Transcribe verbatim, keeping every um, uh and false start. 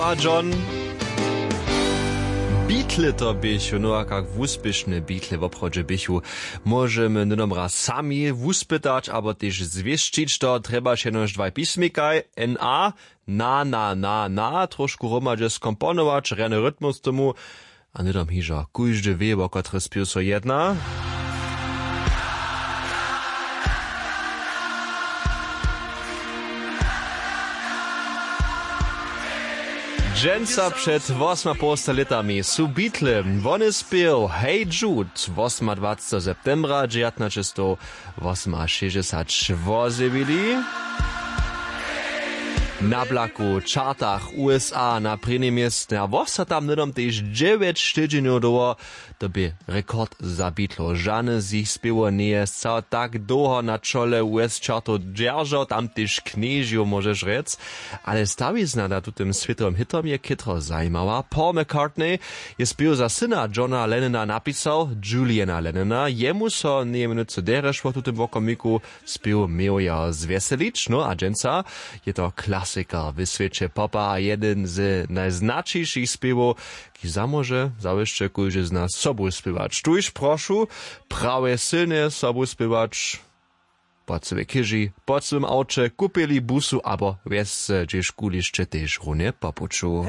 A john, bitle to běchu, no a kak wuspěšne bitle woprawdźe běchu, móžemy hnydom raz sami wuspytać abo tež zwěsćić. To trjebaš jenož dwaj pismikaj, na, na na na na trošku hromadźe skomponować rjany rytmus tomu. A hnydom hižo kóždy wě wo kotry spěw so jedna. Dźensa před wosmapołsta lětami su bitle wone spěł Hey Jude, wosmadwaceteho septembra dźewjatnaćestow wosomašěsćdźesat wozjewili. Na blaku w čartach usa na prěnim městnje a wosa tam hnydom tež dźewjeć tydźenjow dołho. To bě rekord za bitlow, žane z jich spěwow njeje sćał tak dołho na čole us čartow dźeržał, tam tež knježjow móžeš rjec. Ale stawizna na tutym swětowym hitom je chětro zajimała. Paul McCartney je spěw za syna Johna Lennona napisał, Juliana Lennona. Jemu so njeje mjenocy derješ wo tutym wokomiku spěw měł jeho zwjeselić. No a dźensa je to klasikar w swěće popa a jedyn z najznaćišich spěwow, kiž zamóže zawěsće kóždy z nas sobu spěwać. Tuž prošu prawje sylnje sobu spěwać. Po cyłej chěži, po cyłym awće, kupěli busu abo wjesce hdźež kulišće tež runje po puću.